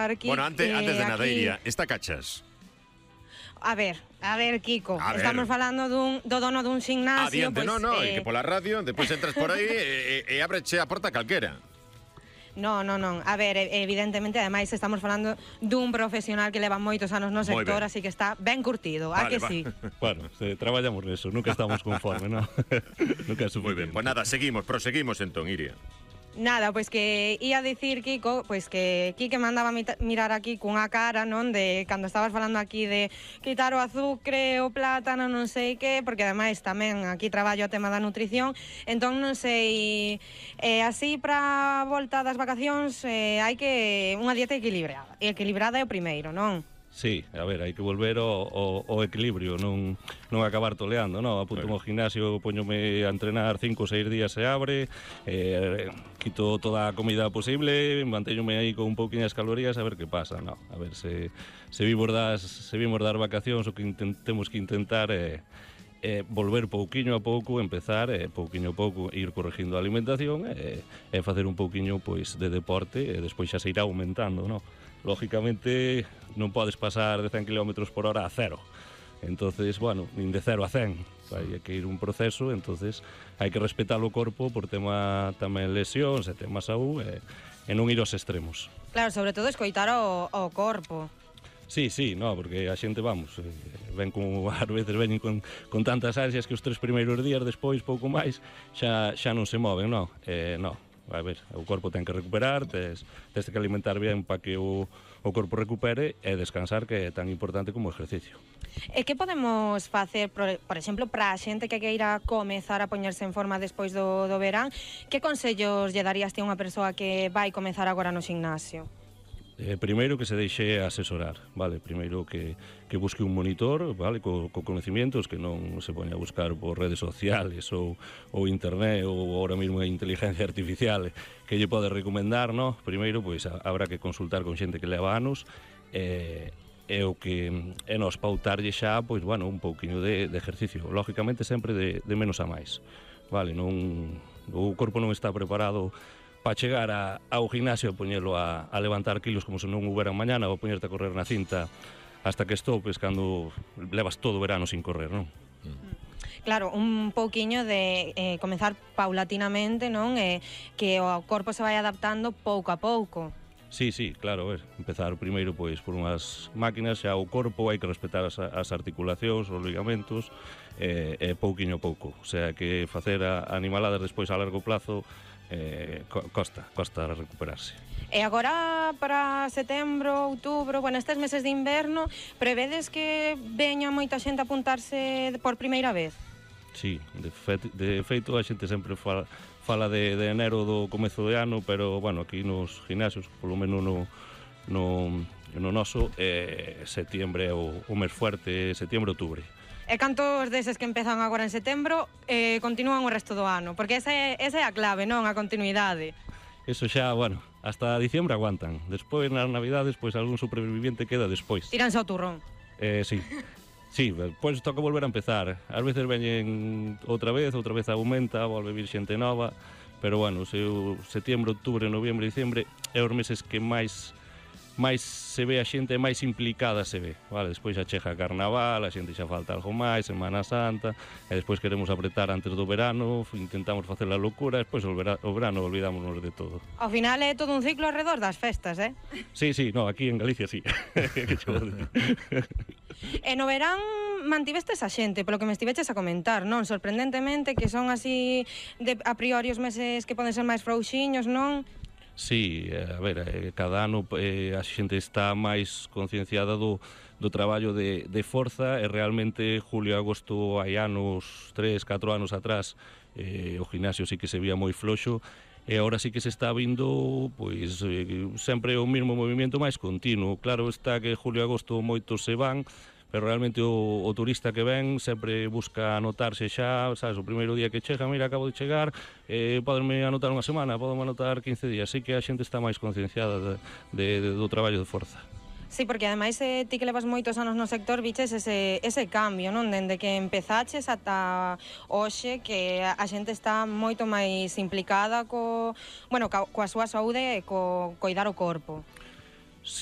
comentar, Kiko. Bueno, antes de nada, Iria, esta cachas. A ver, Kiko, A ver. estamos falando do dono dun gimnasio. Adiante, que pola radio, depois entras por aí e ábreche a porta calquera. Non. A ver, evidentemente, ademais, estamos falando dun profesional que leva moitos anos no sector, así que está ben curtido, a que sí? Bueno, traballamos neso, nunca estamos conformes, non? Nunca é suficiente. Moi ben, pois nada, proseguimos entón, Iria. Nada, pois que ia dicir, Kiko, pois que Kike mandaba mirar aquí cunha cara, non, de cando estabas falando aquí de quitar o azucre, o plátano, non sei que, porque ademais tamén aquí traballo o tema da nutrición, entón non sei, así para a volta das vacacións hai que unha dieta equilibrada é o primeiro, non? Sí, a ver, hai que volver ao equilibrio, non acabar toleando, non? Apunto ao gimnasio, poñome a entrenar 5 ou 6 días se abre, quito toda a comida posible, mantéñome aí con un pouquiñas calorías a ver que pasa, non? A ver se vimos das vacacións, o que temos que intentar volver pouquiño a pouco, empezar pouquiño a pouco, ir corregindo a alimentación e facer un pouquiño pois de deporte e despois xa se irá aumentando, non? Lógicamente non podes pasar de 100 km por hora a 0. Entonces, bueno, nin de 0 a 100. Hai que ir un proceso, entonces hai que respetar o corpo por tema tamén lesións e tema saúde e non ir aos extremos. Claro, sobre todo escoitar o corpo. Sí, no, porque a xente, vamos, ven como ás veces veñen con tantas ansias que os 3 primeiros días, despois, pouco máis, xa non se moven, non? Non. A ver, o corpo ten que recuperar, tes que alimentar ben para que o corpo recupere e descansar, que é tan importante como o exercicio. E que podemos facer, por exemplo, para a xente que queira comezar a poñerse en forma despois do verán? Que consellos lle darías ti a unha persoa que vai comezar agora no gimnasio? Primeiro que se deixe asesorar, vale? Primeiro que busque un monitor, vale? Co conocimientos, que non se poña a buscar por redes sociales ou internet ou ahora mesmo a inteligencia artificial que lle pode recomendar, no? Primeiro, pois, habrá que consultar con xente que leva anos e o que é nos pautarlle xa, pois, bueno, un pouquiño de ejercicio, lógicamente sempre de menos a máis, vale? O corpo non está preparado para chegar ao gimnasio e poñelo a levantar kilos como se non houberan mañana ou poñerte a correr na cinta hasta que estopes cando levas todo o verano sin correr, non? Claro, un pouquiño de comezar paulatinamente, non? Que o corpo se vai adaptando pouco a pouco. Sí, claro, empezar primeiro pois por unhas máquinas, xa o corpo hai que respetar as articulacións, os ligamentos, pouquiño a pouco. O sea, que facer animaladas despois a largo plazo costa recuperarse. E agora para setembro, outubro, bueno, estes meses de inverno, prevedes que veña moita xente a apuntarse por primeira vez? Sí, de feito a xente sempre fala de enero do comezo de ano, pero, bueno, aquí nos gimnasios, polo menos no noso, setiembre é o mes fuerte, setiembre, outubro. E cantos deses que empezan agora en setembro continúan o resto do ano? Porque esa é a clave, non? A continuidade. Eso xa, bueno, hasta diciembre aguantan. Despois, nas navidades, pois algún superviviente queda despois. Tíranse ao turrón. Sí. Sí, pois toca volver a empezar. Ás veces veñen outra vez aumenta, volve vir xente nova, pero, bueno, setiembre, outubro, noviembre, diciembre é os meses que máis se ve a xente, máis implicada se ve, vale? Despois xa chega carnaval, a xente xa falta algo máis, Semana Santa, e despois queremos apretar antes do verano, intentamos facer a locura, e despois o verano olvidámonos de todo. Ao final é todo un ciclo alrededor das festas, Sí, no, aquí en Galicia sí. E no verán mantivestes a xente, polo que me estiveches a comentar, non? Sorprendentemente, que son así a priori os meses que poden ser máis frouxiños, non? Sí, a ver, cada ano a xente está máis concienciada do traballo de forza e realmente julio e agosto hai anos, 3-4 anos atrás, o gimnasio sí que se vía moi floxo e agora sí que se está vindo pois sempre o mesmo movimento máis continuo. Claro está que julio e agosto moitos se van, pero realmente o turista que ven sempre busca anotarse xa, sabes, o primeiro día que chega, mira, acabo de chegar, podenme anotar unha semana, podenme anotar 15 días, así que a xente está máis concienciada do traballo de forza. Sí, porque ademais ti que levas moitos anos no sector viches ese cambio, non? Dende que empezaches ata hoxe, que a xente está moito máis implicada coa súa saúde e coidar o corpo.